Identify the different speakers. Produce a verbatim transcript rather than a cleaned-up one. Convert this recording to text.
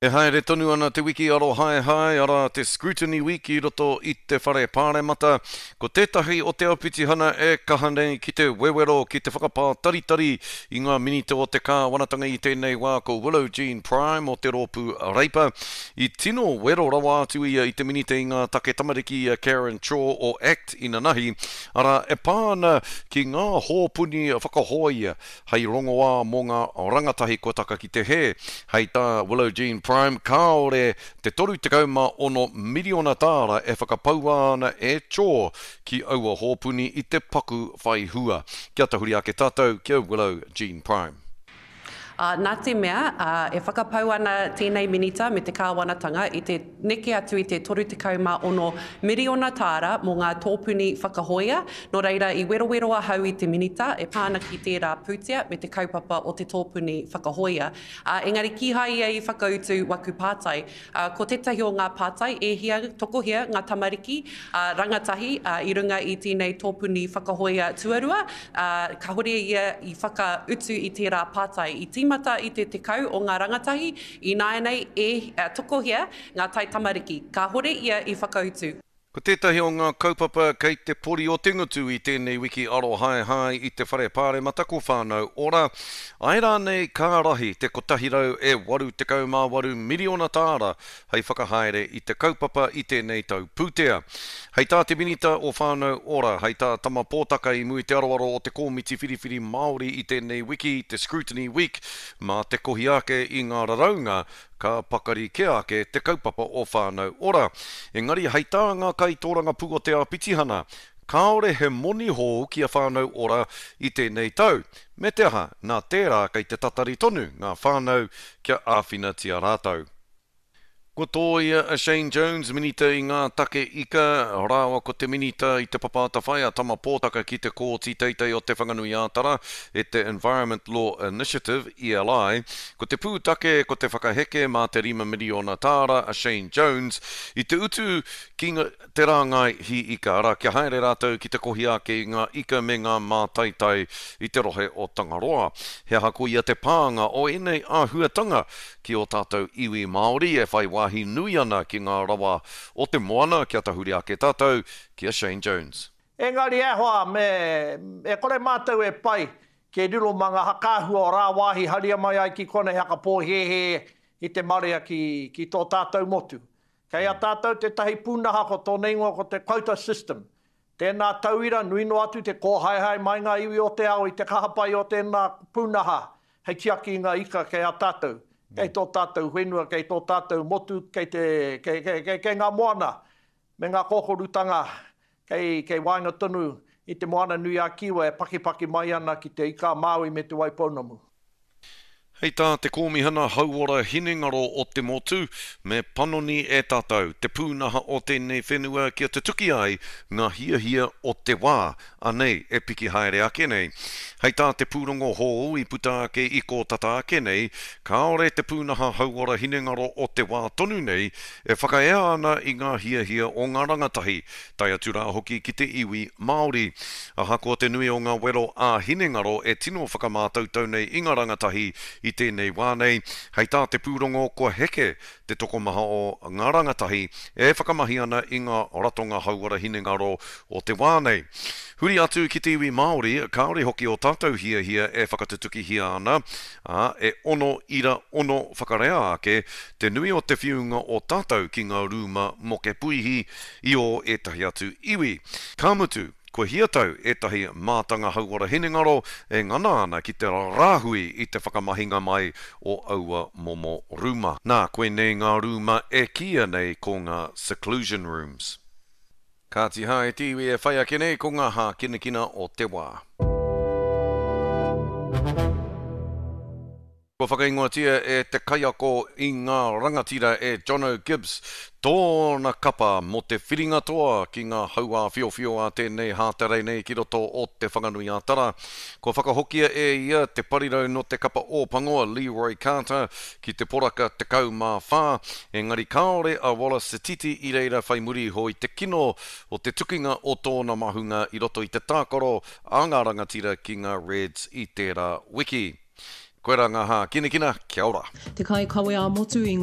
Speaker 1: E haere tonu ana te wiki arohaehae, arā te Scrutiny Week i roto i te Whare Pāremata. Ko tētahi o te āpitihana e kaha nei ki te wewero, ki te whakapātaritari i ngā minita o te kāwanatanga i tēnei wā ko Willow Jean Prime o te rōpū Reipa. I tino wero rawa atu ia i te minita i ngā take tamariki i a Karen Chhour o ACT inanahi, arā e pā ana ki ngā hōpuni whakahōia hei rongoā mō ngā rangatahi kua taka ki te hē. Hei tā Willow Jean Prime, kāore te toru tekau mā ono miriona tāra e whakapaua ana e Chhour ki aua hōpuni i te paku whai hua. Kia tahuri ake tātou ki a Willow Jean Prime.
Speaker 2: Ā, nā te mea, ā, e whakapau ana tēnei Minita me te Kāwanatanga i te neke atu i te toru tekau mā ono miriona tāra mō ngā tōpuni whakahōia, nō reira i werowero ahau i te Minita e pā ana ki tērā pūtea me te kaupapa o te tōpuni whakahōia. Ā, engari kīhai ia i whakautu waku pātai. Ā, ko tētahi o ngā pātai, e hia, tokohia ngā tamariki, ā, rangatahi, ā, i runga i tēnei tōpuni whakahōia tuarua, ā, kāore ia i whakautu i tērā pātai. I tīmata i te tekau o ngā rangatahi, ināianei e, ā, tokohia ngā taitamariki. Kāore ia i whakautu.
Speaker 1: Ko tētahi o ngā kaupapa kei te pori o te ngutu i tēnei wiki arohaehae i te Whare Pāremata ko Whānau Ora. Āe rānei ka rahi te kotahi rau e waru tekau mā waru miriona tāra hei whakahaere i te kaupapa i tēnei tau pūtea. Hei tā te Minita o Whānau Ora, hei tā Tama Pōtaka i mua i te aroaro o te Kōmiti Whiriwhiri Māori i tēnei wiki, te Scrutiny Week, mā te kohi ake i ngā raraunga ka pakari kē ake te kaupapa o Whānau Ora. Engari hei tā ngā kaitōrangapū o te āpitihana, kāore he moni hou ki a Whānau Ora i tēnei tau, me te aha, nā tērā kei te tatari tonu ngā whānau kia āwhinatia rātou. Kua tōia a Shane Jones, Minita i ngā Take Ika, rāua ko te Minita i te Papa Atawhai a Tama Pōtaka ki te Kōti Teitei o Te Whanganui-ā-Tara e te Environment Law Initiative, E L I. Ko te pūtake ko te whakaheke mā te rima miriona tāra a Shane Jones i te utu ki te rāngai hī ika, arā, kia haere rātou ki te kohi ake i ngā ika me ngā mātaitai i te rohe o Tangaroa. He aha koia te pānga o ēnei āhuatanga ki ō tātou iwi Māori e whai wāhi nui ana ki ngā rawa o te moana, kia tahuri ake tātou ki a Shane Jones.
Speaker 3: Engari e hoa, me, e kore mātou e pai ke riro mā ngā hakaahua o rāwāhi haria mai ai ki konei haka pōhēhē i te marea ki, ki tō tātou motu. Kei a tātou tētahi pūnaha ko tōna ingoa ko te quota system. Tēnā tauira, nui noa atu te kōhaehae mai ngā iwi o te ao i te kaha pai o tēnā pūnaha hei tiaki i ngā ika kei a tātou, kei tō tātou whenua, kei tō tātou motu, kei te, kei, kei, kei, kei ngā moana me ngā kōkorutanga kei, kei waenga tonu i te Moana Nui a Kiwa e pakipaki mai ana ki te Ika a Māui me te Waipounamu.
Speaker 1: Hei tā te Kōmihana Hauora Hinengaro o te Motu, me panoni e tātou te pūnaha o tēnei whenua kia tutuki ai ngā hiahia o te wā, anei e piki haere ake nei. Hei tā te pūrongo hou i puta ake i kō tata ake nei, kāore te pūnaha hauora hinengaro o te wā tonu nei e whakaea ana i ngā hiahia o ngā rangatahi, tae atu rā hoki ki te iwi Māori. Ahakoa te nui o ngā wero ā-hinengaro e tino whakamātautau nei i ngā rangatahi i tēnei wā nei, hei tā te pūrongo kua heke te tokomaha o ngā rangatahi e whakamahi ana i ngā ratonga hauora hinengaro o te wā nei. Huri atu ki te iwi Māori, kāore hoki o tātou hiahia e whakatutukihia ana, ā, e ono ira ono whakarea ake te nui o te whiunga o tātou ki ngā rūma moke puihi i ō ētahi atu iwi. Ka mutu, kua hiatau ētahi mātanga hauora hinengaro e ngana ana ki te rāhui i te whakamahinga mai o aua momo rūma. Nā, koinei ngā rūma e kīia nei ko ngā seclusion rooms. Kāti hā e te iwi e whai ake nei ko ngā hākinakina o te wā. Kua whakaingoatia e te kaiako i ngā rangatira e Jono Gibbs tōna kapa mō te whiringa toa ki ngā hauāwhiowhio a tēnei hāterei nei ki roto o Te Whanganui-a-Tara. Kua whakahokia e ia te parirau no te kapa Ōpango a Leroy Carter ki te poraka tekau mā whā, engari kāore a Wallace Sititi i reira whai muri iho i te kino o te tukinga o tōna mahunga i roto i te tākaro a ngā rangatira ki ngā Reds i tērā wiki. Koirā ngā hākinakina, kia ora.
Speaker 4: Te kaikawe ā-motu i